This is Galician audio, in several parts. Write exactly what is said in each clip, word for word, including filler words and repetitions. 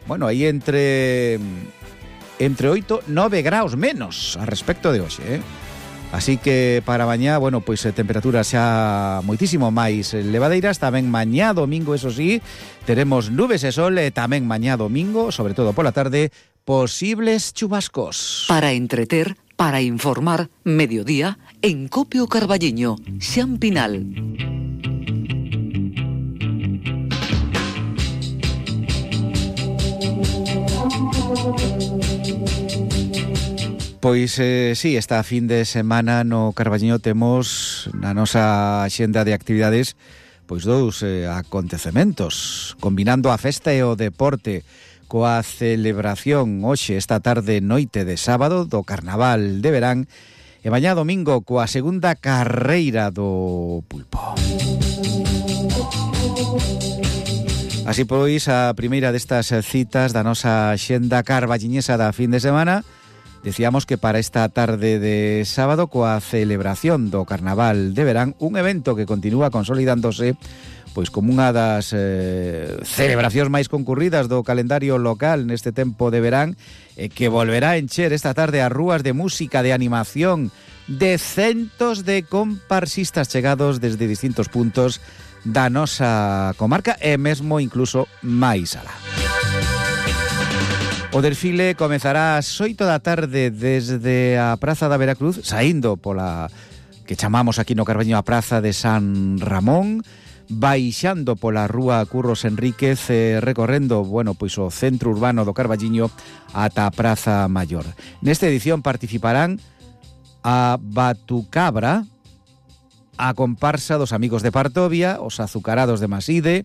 bueno, aí entre entre oito e nove graus menos a respecto de hoxe, eh? Así que para mañá, bueno, pois pues, temperaturas xa moitísimo máis levadeiras. Tamén mañá domingo, eso sí, teremos nubes e sol, e tamén mañá domingo, sobre todo pola tarde, posibles chubascos. Para entreter, para informar, mediodía, en Copio Carballiño, Xan Pinal. Pois, eh, sí, esta fin de semana no Carballiño temos na nosa axenda de actividades pois dous eh, acontecementos, combinando a festa e o deporte coa celebración hoxe, esta tarde noite de sábado, do Carnaval de Verán, e mañá domingo coa segunda carreira do pulpo. Así pois, a primeira destas citas da nosa axenda carballiñesa da fin de semana. Decíamos que para esta tarde de sábado, coa celebración do Carnaval de Verán, un evento que continúa consolidándose pois como unha das eh, celebracións máis concurridas do calendario local neste tempo de verán, e que volverá a encher esta tarde as rúas de música, de animación, de centos de comparsistas chegados desde distintos puntos da nosa comarca e mesmo incluso máis alá. O desfile comezará ás oito da tarde desde a Praza da Veracruz, saindo pola que chamamos aquí no Carballiño a Praza de San Ramón, baixando pola rúa Curros Enríquez, eh, recorrendo, bueno, pois o centro urbano do Carballiño ata a Praza Maior. Nesta edición participarán a Batucabra, a comparsa dos Amigos de Partovia, os Azucarados de Maside,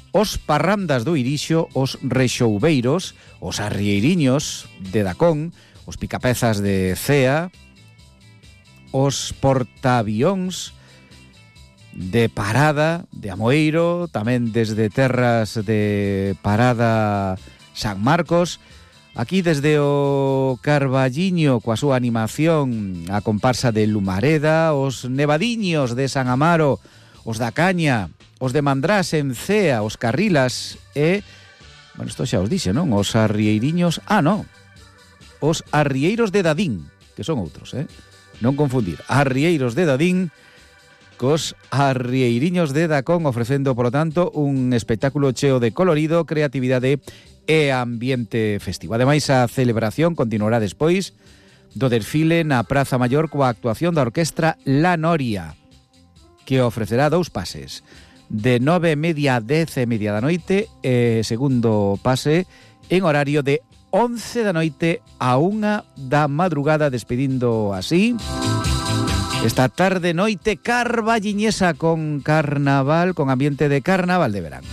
os Parrandas do Irixo, os Rexoubeiros, os Arrieiriños de Dacón, os Picapezas de Cea, os Portaavións de Parada, de Amoeiro, tamén desde terras de Parada San Marcos. Aquí desde o Carballiño, coa súa animación, a comparsa de Lumareda, os Nevadiños de San Amaro, os da Caña, os de Mandrás en Cea, os Carrilas e... Bueno, isto xa os dixe, non? Os Arrieiriños... Ah, non. Os Arrieiros de Dadín, que son outros, eh? Non confundir. Arrieiros de Dadín cos Arrieiriños de Dacón, ofrecendo, polo tanto, un espectáculo cheo de colorido, creatividade e ambiente festivo. Ademais, a celebración continuará despois do desfile na Praza Maior coa actuación da orquestra La Noria, que ofrecerá dous pases, de nove e media a dez e media da noite, e segundo pase en horario de once da noite a unha da madrugada, despedindo así esta tarde noite carballiñesa con carnaval, con ambiente de Carnaval de Verán.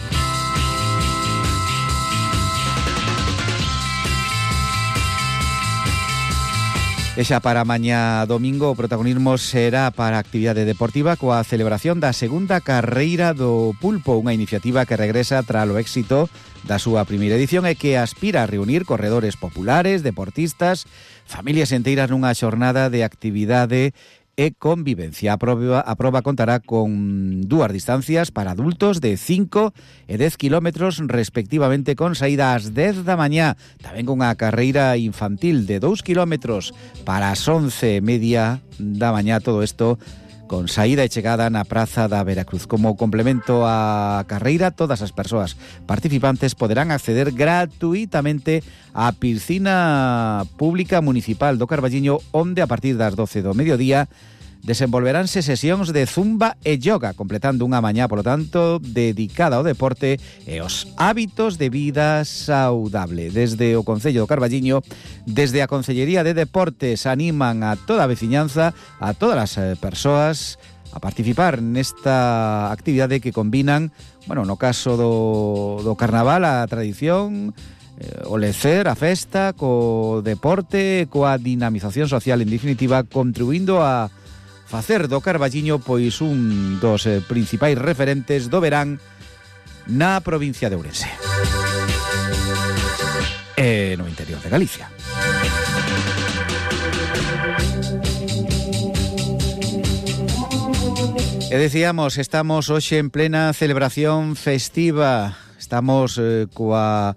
E xa para mañá domingo o protagonismo será para a actividade deportiva coa celebración da segunda carreira do pulpo, unha iniciativa que regresa tras o éxito da súa primeira edición e que aspira a reunir corredores populares, deportistas, familias enteiras nunha xornada de actividade e convivencia. A proba, a proba contará con dúas distancias para adultos de cinco e dez kilómetros respectivamente, con saída ás dez da mañá, tamén con unha carreira infantil de dous kilómetros para as once e media da mañá, todo isto con saída e chegada na Praza da Veracruz. Como complemento á carreira, todas as persoas participantes poderán acceder gratuitamente á piscina pública municipal do Carballiño, onde a partir das doce do mediodía desenvolveránse sesións de zumba e yoga, completando unha mañá, polo tanto, dedicada ao deporte e aos hábitos de vida saudable. Desde o Concello do Carballiño, desde a Concellería de Deportes, animan a toda a veciñanza, a todas as persoas a participar nesta actividade que combinan, bueno, no caso do, do Carnaval, a tradición, eh, o lecer, a festa, co deporte, coa dinamización social, en definitiva, contribuindo a facer do Carballiño pois un dos eh, principais referentes do verán na provincia de Ourense e no interior de Galicia. E decíamos, estamos hoxe en plena celebración festiva, estamos eh, coa